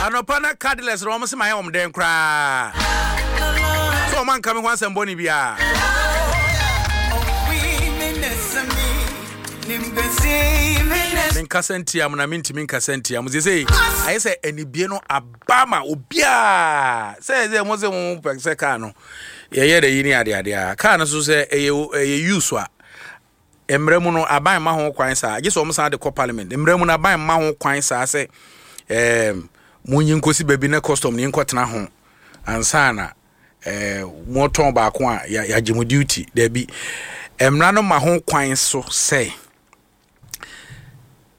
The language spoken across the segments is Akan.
Anɔpa na car dealers no wɔn se ma yɛ wɔn dɛn koraa sɛ wɔn anka me ho asɛm bɔne biara. Menkasa ntia mo na mentumi nkasa ntia mo sesei ayɛ sɛ anibie no aba ma obiara sɛ sɛ mo sɛ mo pɛ sɛ kaa no yɛyɛ dɛ yi ne adeade a kaa no so sɛ ɛyɛ ɛyɛ use a Mmara mu no, aban mma ho kwan saa. Gye sɛ wɔn san de kɔ parliament. Mmara mu no, aban mma ho kwan saa sɛ ɛɛm monyi nkosi baabi na custom ni nkɔtena ho ansa na ɛɛ motɔn baako a yɛagye mo duty. Dabi. Mmara no ma ho kwan so sɛ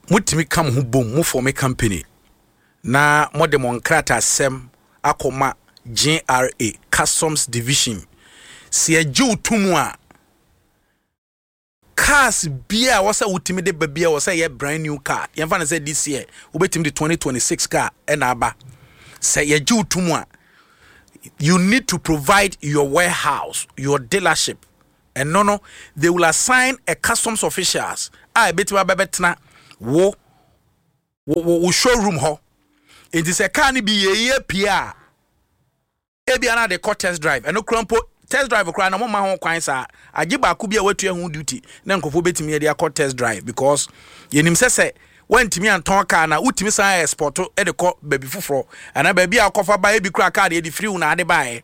motumi ka mo ho bom, mo form company na mode mo nkratasɛm akɔma GRA, Customs Division. Sɛ yɛgye wo to mu a, Cars biaa ɛwɔ sɛ wotumi de ba biaa ɛwɔ sɛ ɛyɛ brand new car. Yɛmfa no sɛ this year wobɛtumi de 2026 car ɛna aba. Sɛ yɛgye wo to mu a, you need to provide your warehouse, your dealership. Ɛno no, they will assign a customs officials a ɛbɛtumi abɛbɛtena wo wo wo showroom hɔ. Nti sɛ car no bi yɛyɛ pie a, Ebia na de kɔ test drive. Ɛno koraa mpo, test drive koraa na wɔmma ho kwan saa. Agye baako bi a watua ho duty na nkurɔfoɔ bɛtumi de akɔ test drive because yɛnim sɛ sɛ woantumi antɔn car no a, wotumi san export de kɔ baabi foforɔ anaa baabi a wokɔfa baeɛ bi koraa car deɛ de firi wo na ade baeɛ.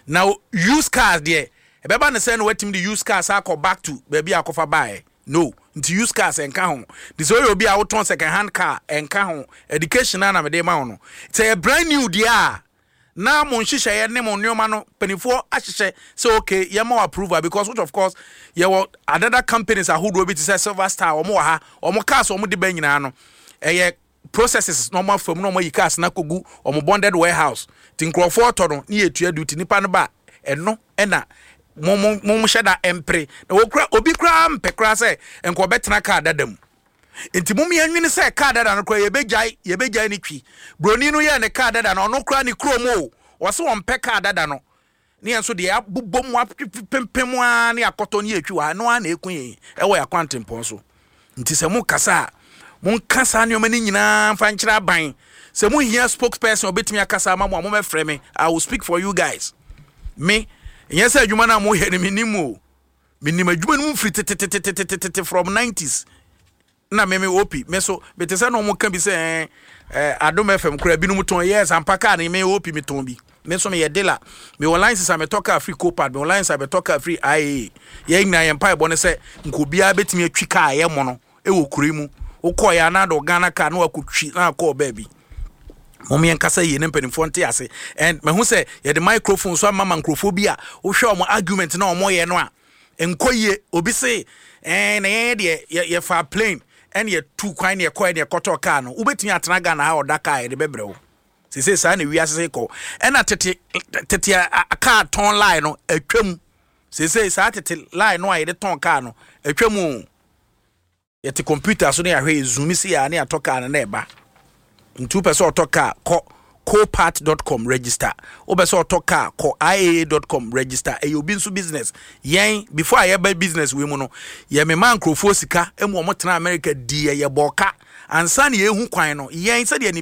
Na used cars deɛ, ɛbɛba no sɛ na woatumi de used cars akɔ back to baabi a wokɔfa baeɛ. No, nti used cars ɛnka ho. Nti sɛ woyɛ obi a wotɔn second hand car ɛnka ho. Education no ara na mede ma wo no. Sɛ ɛyɛ brand new deɛ a, na mo nhyehyɛeɛ ne mo nneɛma no mpanimfoɔ ahyehyɛ sɛ okay yɛma wo approval because which of course yɛwɔ another companies ahodoɔ bi te sɛ Silver Star wɔn wɔ ha wɔn cars wɔn de ba nyinaa no ɛyɛ processes na wɔn afa mu na wɔn ayi cars na akɔgu wɔn bonded warehouse ti nkurɔfoɔ tɔ no ne yɛtua duty nipa no ba ɛno ɛna mo mo mo hyɛ da mpere na wɔkura obi koraa mpɛ koraa sɛ nka ɔbɛtena car dada mu. Nti mom yɛnwene sɛ car dada no koraa yɛbɛgyae yɛbɛgyae ne twi. Broni no yɛɛ ne car dada no ɔno koraa ne kurom o ɔse ɔmpɛ car dada no ne yɛn nso deɛ yɛabobɔ mu apempem ara ne akɔtɔ ne yɛtwi wɔ ha ɛno ara na ɛku yɛn ɛwɔ yɛn akwantempɔn so. Nti sɛ mo kasa a monka saa nneɛma no nyinaa mfa nkyerɛ aban. Sɛ mo hia spokesperson a ɔbɛtumi akasa ama mo a mommɛfrɛ me I will speak for you guys. Me nyɛ sɛ adwuma no a moyɛ no mennim o. Menim adwuma no mu firi tetetetetete from 90s na me me OP me so mete sɛ na wɔn ka bi sɛ ɛɛ eh, Adom FM koraa binom tɔn yes ampa kaa no me OP me tɔn bi me nso meyɛ dealer mewɔ license a metɔ kaa firi Copart mewɔ license a metɔ kaa firi IAA yɛn nyinaa yɛn mpaebɔ ne sɛ nka obiara bɛtumi atwi kaa ɛyɛ mono ɛwɔ kuro yi mu wokɔɔ yɛ anaa de Ghana kaa na wakɔtwi na akɔɔ baabi mom yɛn kasa yie ne mpanimfoɔ nte ase and mahu sɛ yɛde microphone so ama ma nkurɔfoɔ bi a wohwɛ wɔn argument na wɔn yɛ no a nkɔ yie obi se ɛn na yɛn deɛ yɛ yɛfa plane ɛne yɛtu kwan ne yɛkɔɛ ne yɛkɔtɔ kaa no wobɛtumi atena Ghana ha ɔda kaa yɛde bɛbrɛ wo sese saa na wiase se kɔ ɛna tete tete kaa tɔn line no atwam sese saa tete line no a yɛde tɔn kaa no atwam o. Yɛte computer so na yɛahwɛ yɛ zoom si a na yɛatɔ car no na ɛba. Nti wopɛ sɛ ɔtɔ car kɔ copart.com register. Wopɛ sɛ ɔtɔ car kɔ iaa.com register. Ɛyɛ obi nso business. Yɛn before a yɛba business wei mu no yɛmema nkurɔfoɔ sika mu wɔn tena America di yɛ yɛbɔɔ ka ansa na yɛhu kwan no yɛn sɛdeɛ ne.